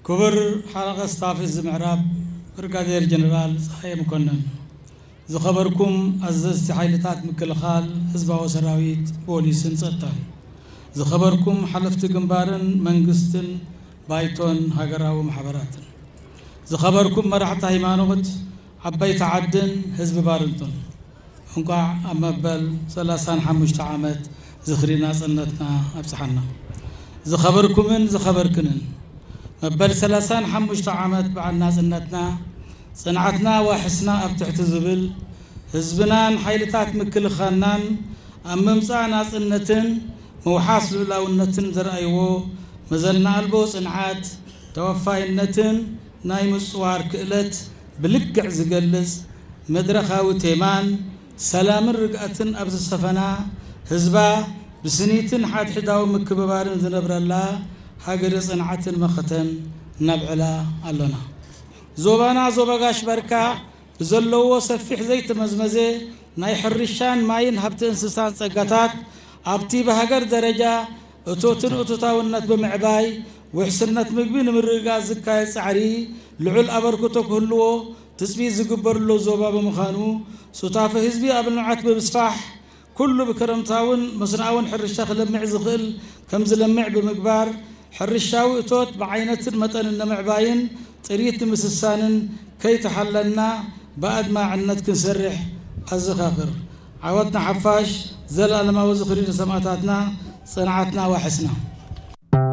ክቡር ሓለቐ ስታፍ እዚ ምዕራብ ብርጋዴር ጀነራል ፀሃየ መኮነን፣ ዝኸበርኩም ኣዘዝቲ ሓይልታት ምክልኻል ህዝባዊ ሰራዊት፣ ፖሊስን ጸጥታን፣ ዝኸበርኩም ሓለፍቲ ግንባርን መንግስትን ባይቶን ሃገራዊ ማሕበራትን፣ ዝኸበርኩም መራሕቲ ሃይማኖት፣ ዓበይቲ ዓድን ህዝቢ ባርንቱን፣ እንቋዕ ኣብ መበል ሰላሳን ሓሙሽተ ዓመት ዝኽሪ ናጽነትና ኣብጽሓና። ዝኸበርኩምን ዝኸበርክንን፣ መበል ሰላሳን ሓሙሽተ ዓመት በዓል ናጽነትና፣ ጽንዓትና ዋሕስና ኣብ ትሕቲ ዝብል ህዝብናን ሓይልታት ምክልኻልናን ኣብ ምምጻእ ናጽነትን ምውሓስ ልኡላውነትን ዘርኣይዎ መዘና ኣልቦ ጽንዓት፣ ተወፋይነትን ናይ ምጽዋር ክእለት ብልክዕ ዝገልጽ መድረኻዊ ቴማን ሰላምን ርግኣትን ኣብ ዝሰፈና ህዝባ ብስኒትን ሓድሕዳዊ ምክብባርን ዝነብረላ ሃገረ ጽንዓትን መኸተን ነብዕላ ኣሎና። ዞባና ዞባ ጋሽ በርካ ብዘለዎ ሰፊሕ ዘይተመዝመዘ ናይ ሕርሻን ማይን ሃብቲ እንስሳን ጸጋታት ኣብቲ ብሃገር ደረጃ እቶትን እቶታውነት ብምዕባይ ውሕስነት ምግቢ ንምርግጋጽ ዝካየድ ጻዕሪ ልዑል ኣበርክቶ ክህልዎ ትጽቢት ዝግበርሉ ዞባ ብምዃኑ ሱታፌ ህዝቢ ኣብ ልምዓት ብምስፋሕ ኩሉ ብክረምታውን መስኖኣውን ሕርሻ ክለምዕ ዝኽእል ከም ዝለምዕ ብምግባር ሕርሻዊ እቶት ብዓይነትን መጠንን ንምዕባይን ጥሪት ንምስሳንን ከይተሓለልና ብኣድማዕነት ክንሰርሕ ኣዘኻኽር። ዓወትና ሓፋሽ፣ ዘለኣለማዊ ዝኽሪ ንሰማእታትና፣ ጽንዓትና ዋሕስና።